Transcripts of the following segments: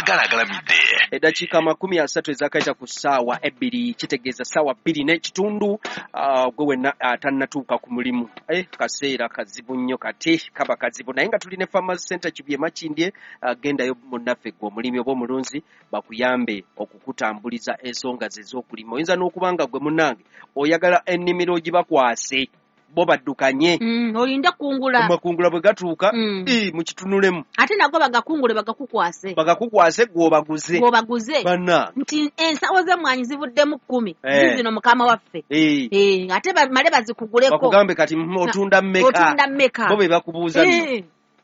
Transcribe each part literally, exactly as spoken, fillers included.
Saagala agalamidde. Eddakiika makumi asatu ezakayita ku ssaawa ebbiri, kitegeeza ssaawa bbiri n'ekitundu, ah, gwe wenna atannatuuka ku mulimu. Eh, kaseera kazibu nnyo, kati kaba kazibu, naye nga tuli ne Farmers Center Kibye Makindye. ah, gendayo munnaffe gwe omulimi oba omulunzi, bakuyambe okukutambuliza ensonga ze ez'okulima. Oyinza n'okuba nga gwe munnange oyagala ennimiro ogibakwase bo baddukanye. Mm, olinde kungula. Amakungula bwe gatuuka, Mm. ii, mukitunulemu. Ate nago bagakungule bagakukwase. Bagakukwase gwe obaguze. Gwobaguze. Banna. Nti ensawo z'emmwanyi zivuddemu kkumi. Eh. Zizino mukama waffe. Eh. Eh, ate bamale bazikuguleko. Bakugambe kati mm, otunda mmeka? Otunda mmeka? Bo be bakubuuza nno. Eh.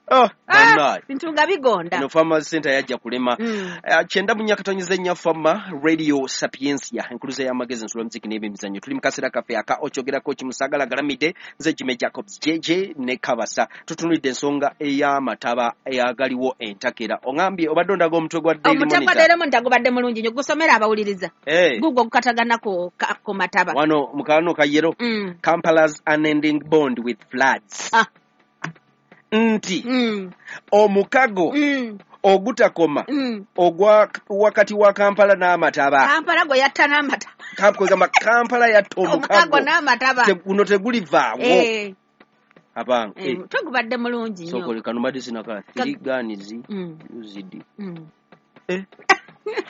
Ah, Ah, bannaye. bintu nga bigonda. Eno Farmers Center yajja kulema. Mm. Eh, kyenda mu nyakatonyeza ennya Fama Radio Sapientia, enkuluze y'amagezi, ensula, muziki n'ebyemizannyo. Tuli mu kaseera kaffe aka okyogerako kimusagala galamidde. Nze Jimmy Jacobs J J ne Kabasa. Tutunulidde ensonga ey'amataba eyagaliwo entakera. Oŋambye obadde ondaga omutwe gwa Daily Omutwe gwa Monitor. Daily Monitor gubadde mulungi nnyo, gusomera abawuliriza. Eh, gugwo gukatagana ku ka- ku mataba. Wano mu kano kayero, Mm. Kampala's unending bond with floods, Ah. nti Mm. omukago Mm. ogutakoma Mm. ogwa wakati wa Kampala n'amataba. Kampala gwe yatta n'amataba. Kam- kwegamba Kampala yatta omukago omukago n'amataba. Te- guno tegulivaawo. Eh, Abange, eh, omutwe gubadde mulungi nnyo. Sokole kano mbadde sinaka three guns Mm. used. Mm.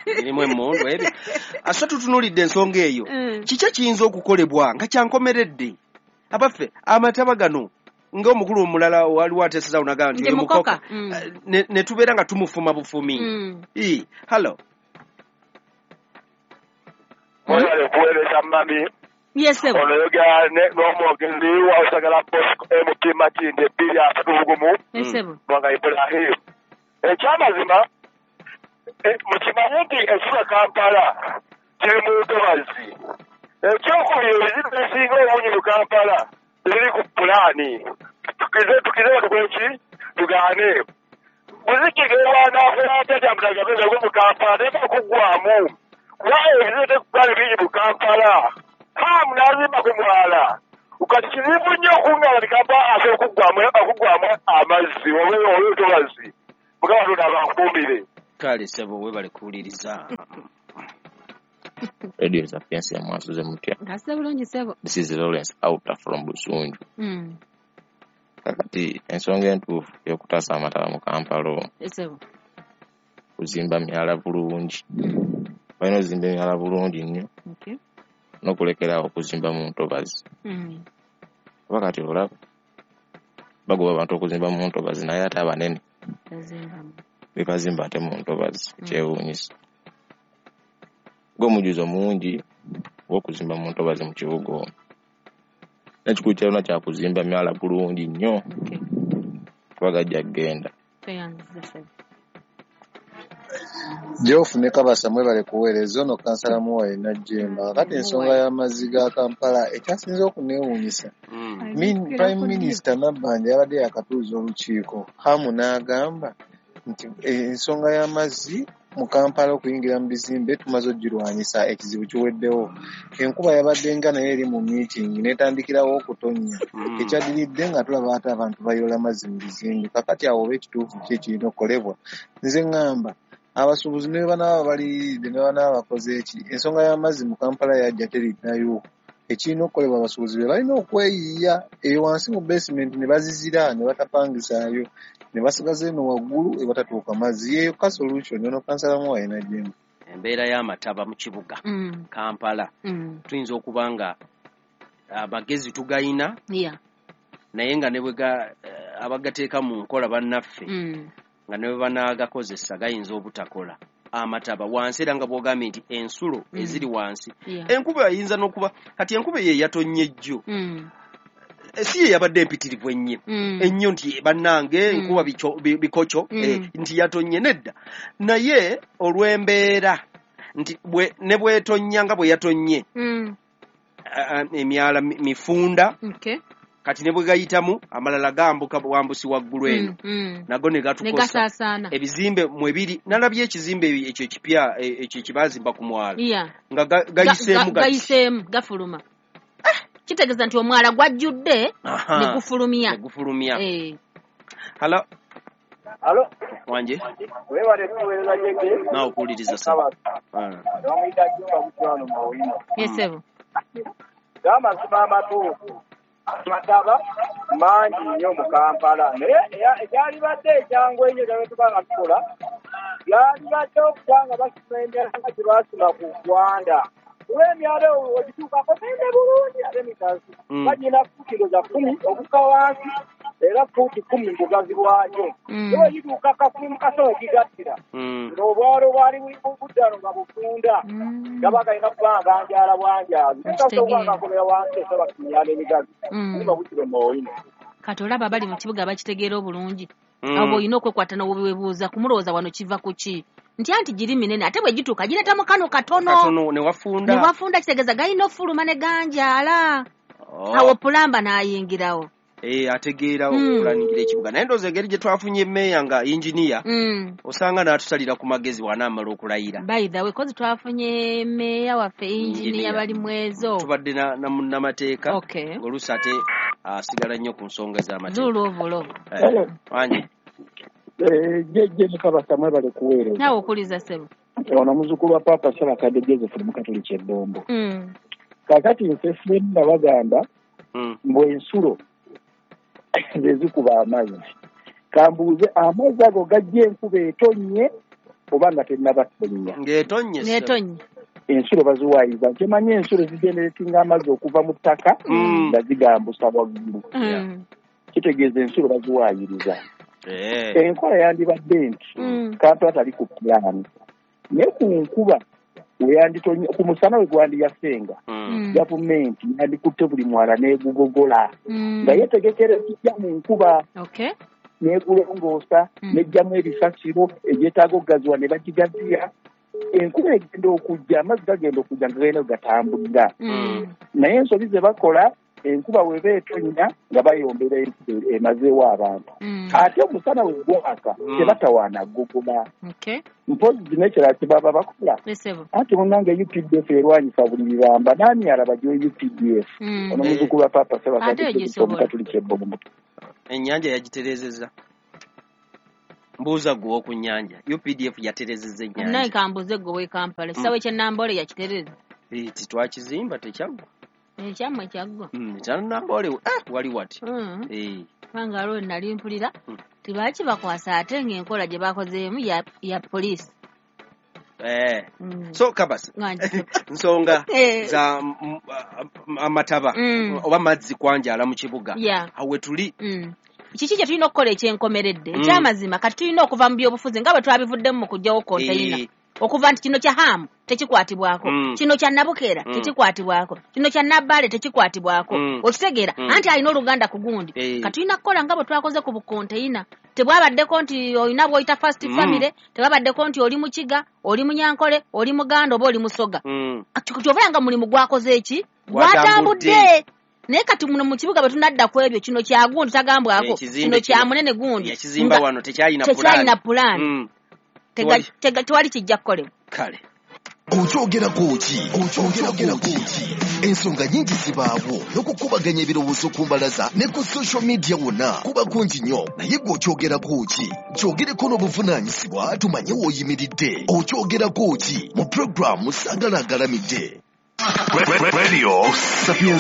Erimu emmundu ebyo. Asa tutunuulidde ensonga eyo. Mm. Kiki ekiyinza okukolebwa nga kyankomeredde, abaffe, amataba gano? Ng'omukulu omulala waliwo ateeseza nagamba nti Nti oyo mukoka. mukoka. Mm. Eh, ne ne tubeera nga tumufuma bufumi. Mm. Ii, hallo. Mwebale kuweereza mami. Yes, sir. Ono yogera ne- n'omwogezi wa Usagala Bosco M P Makindye bbiri asatu bugumu. Yes, sir. Mwanga Ibrahim. Ekyamazima, eh, mukimanye nti ekibuga Kampala kiri mu ntobazi. Ekyokubiri, ebizibu ebisinga obungi mu Kampala tebiri ku pulaani. Tukize tukize tukole ki? Tugaane. Muziki gewanaakola atya kyamutagabeza gwe mu Kampala teeka kuggwamu. Kuba ebizibu tekugaali bingi mu Kampala. Hamu n'azimba ku mwala. Kati kizibu nnyo okungala nti Kampala asobola okuggwamu okuggwamu amazzi oba olw'entobazi. Mukama Katonda abankuumire. Kale ssebo, webale kuwuliriza. Radio Sapientia, mwasuze mutya? Ntase bulungi, ssebo. This is Lawrence Outer from Busunju. Mm. Kakati ensonga entuufu ey'okutaasa amataba mu Kampala omwo, Yes, ssebo. kuzimba myala bulungi. Mm. Balina ozimba emyala bulungi nnyo Okay. n'okulekeraawo okuzimba mu ntobazi. Mm. Kuba kati olaba bagoba abantu okuzimba mu ntobazi, naye ate abanene Tazimbamu. bebazimba ate mu ntobazi. Mm. Kyewuunyisa. Ng'omujuzo mungi ogw'okuzimba mu ntobazi mu kibuga omwo. N'ekikulu kyalina kya kuzimba myala bulungi nnyo Okay. kuba gajja kugenda. Tweyanziza, ssebo. Geoff ne Kabasa, mwebale kuweereza. Ono kansala Muwaye Najjemba. Kati ensonga y'amazzi ga Kampala ekyasinze okuneewuunyisa, Mm. Min- Prime Minister Nabbanja yabadde yakatuuza olukiiko, Hamu n'agamba nti ensonga y'amazzi mu Kampala okuyingira mu bizimbe tumaze ogirwanyisa, ekizibu kiweddewo. Enkuba yabadde nga naye eri mu meeting n'etandikirawo okutonnya. Mm. Ekyaddiridde nga tulaba ate abantu bayoola amazzi mu bizimbe. Kakati awo oba ekituufu ki ekirina okukolebwa? Nze ŋŋamba abasuubuzi ne bwe banaaba baliyiridde, ne banaaba bakoze eki, ensonga y'amazzi mu Kampala yajja teriddayo. Ekirina okukolebwa, abasuubuzi be balina okweyiiya eyo wansi mu basement ne bazizira ne batapangisaayo ne basigaza eno waggulu ewatatuuka mazzi. Yeyo ka solution. Ono kansala Muwaye Najjemba. Embeera y'amataba mu kibuga Mm. Kampala, Mm. tuyinza okuba nga amagezi tugayina, Yeah. naye nga ne bwe ga- eh, abagateeka mu nkola bannaffe, Mm. nga ne bwe banaagakozesa gayinza obutakola. Amataba wansi, era nga bw'ogambye nti ensulo Mm. eziri wansi, Yeah. enkuba eyinza n'okuba kati enkuba ye yatonnya ejjo, Mm. Eh, si ye yabadde empitirivu ennyo Mm. ennyo nti bannange Mm. enkuba bico- bi- bikoco, Mm. eh, nti yatonnye nedda, naye olw'embeera nti bwe- ne bwetonnya nga bwe yatonnye, Mm. ah, ah, emyala mi- mifunda. Okay. Kati ne bwe gayitamu amalala gambuka bwambusi waggulu eno, Mm. Mm. nago ne Ne gatukosa. gasaasaana. Ebizimbe mwe biri, nalabye ekizimbe ekyo ekipya, eh, ekyo ekibazimba ku mwala, Yeah. nga ga- Ga- gayiseemu ga- gati. Gayiseemu gafuluma. Kitegeeza nti omwala gwajjudde Aha. ne gufulumya. Ne gufulumya. Eh. Halo. Alo. Wanje. Webale kuweereza Jeke. Naawe okuwuliriza ssebo. Bamuyita Jumba Butwano Mawino. Yes, ssebo. Amazima amatuufu amataba mangi nnyo mu Kampala, naye ekyalibadde ekyangu ennyo kyabwe tuba nga tukola byalibadde okuba nga basima emyala nga gye basima ku Rwanda. Kuba emyala ogituukako gende bulungi ate mikazi bagina fuuti za kkumi okukka wansi era fuuti kkumi mu bugazi bwakyo. Naye gituuka kakumi mu kasowe gigattira ng'obwalo bwali buddano nga bufunda gaba galina kuba nga ganjaala bwanjaazi kasobola nga gakomera wansi osobola kumyala emigazi kuba bukiro mwoyino. Kati olaba abali mu kibuga bakitegeera obulungi. Abo olina okwekwata n'owebuuza kumulowooza wano kiva ku ki nti anti giri minene ate bwe gituuka gireeta mu kano katono katono ne wafunda ne wafunda kitegeeza galina ofuluma ne ganjaala. Awo pulamba n'ayingirawo. Eh, ategeera okulaningira ekibuga. Naye ndowooza engeri gye twafunye meeya nga engineer osanga n'atusalira ku magezi wanaamala okulayira. By the way, kozi twafunye meeya waffe engineer bali mwezo. Tubadde na na munnamateeka. Okay. Oluusi ate asigala nnyo ku nsonga z'amateeka. Zuulo Wanje. Eh, Jjajja Mukabasa mwebale kuweereza. Naawe okuliza ssebo. Ono muzzukulu wa Paapa Ssabakadde Joseph Mukatoliki e Bombo. Kaakati nfe ffenna bagamba mbu ensulo ze zikuba amazzi. Kambuuze amazzi ago gajja enkuba etonnye oba nga tennaba kutonnya? Ng'etonnye. Ng'etonnye. Ensulo baziwaayiza. Nkimanyi ensulo zigeneratinga amazzi okuva mu ttaka nga zigambusa waggulu. Kitegeeza ensulo baziwaayiriza. Enkola yandibadde nti Kampala tali ku pulaani naye ku nkuba weyanditonye ku musana we gwandiyasenga gavumenti yandikutte buli mwala n'egugogola nga yeetegekera ekijja mu nkuba n'egulongoosa n'ejjamu ebisasiro egyetaaga okugaziwa ne bagigaziya. Enkuba egenda okujja amazzi gagenda okujja nga galina gatambulira naye ensobi ze bakola enkuba weba etonnya nga bayombera enkuba emazeewo abantu ate omusana we gwaka tebatawaana gogola. Mpozi n'ekirala kye baba bakola anti munnange U P D F erwanyisa buli bibamba n'ani alaba gyo U P D F ono muzzukulu wa Paapa Ssabakadde Omukatoliki e Bombo. Ennyanja yagitereezezza. Mbuuza gwe ow'oku nnyanja U P D F yatereezezza ennyanja. Naye kambuuze gwe ow'e Kampala ekisaawe ky'e Namboole yakitereeza. Titwakizimba tekyaggwa. Ekyammwe kyaggwa. Ekya Namboole wali wati. Kubanga waliwo nali mpulira tebakibakwasa ate ng'enkola gye bakozeemu ya poliisi. So Kabasa, nsonga za amataba oba mazzi kwanjala mu kibuga awe tuli kiki kye tulina okukola ekyenkomeredde ekyamazima kati tulina okuva mu byobufuzi nga bwe twabivuddemu mu kuggyawo konteyina okuva nti kino kya Hamu tekikwatibwako, kino kya Nabukeera tekikwatibwako, kino kya Nabbaale tekikwatibwako. Okitegeera anti alina oluganda ku gundi. Kati tulina kukola nga bwe twakoze ku bukonteyina. Tebwabaddeko nti olina bw'oyita first family, tebabaddeko nti oli Mukiga, oli Munyankole, oli Muganda oba oli Musoga. Kyova nga mulimu gwakoze eki gwatambudde. Naye kati muno mu kibuga bwe tunadda ku ebyo kino kya gundi tagambwako, kino kya munene gundi. Yakizimba wano tekyalina pulaani. Tekyalina pulaani. Tewali kijja kukolebwa. Kale. Okyogerako ki? Okyogerako ki? Ensonga nnyingi zibaawo n'okukubaganya ebirowoozo ku mbalaza ne ku social media wonna kuba kungi nnyo, naye gwe okyogerako ki? Kyogereko n'obuvunaanyizibwa tumanye w'oyimiridde. Okyogerako ki? Mu pulogulaamu Saagala Agalamidde. Radio Sapiens.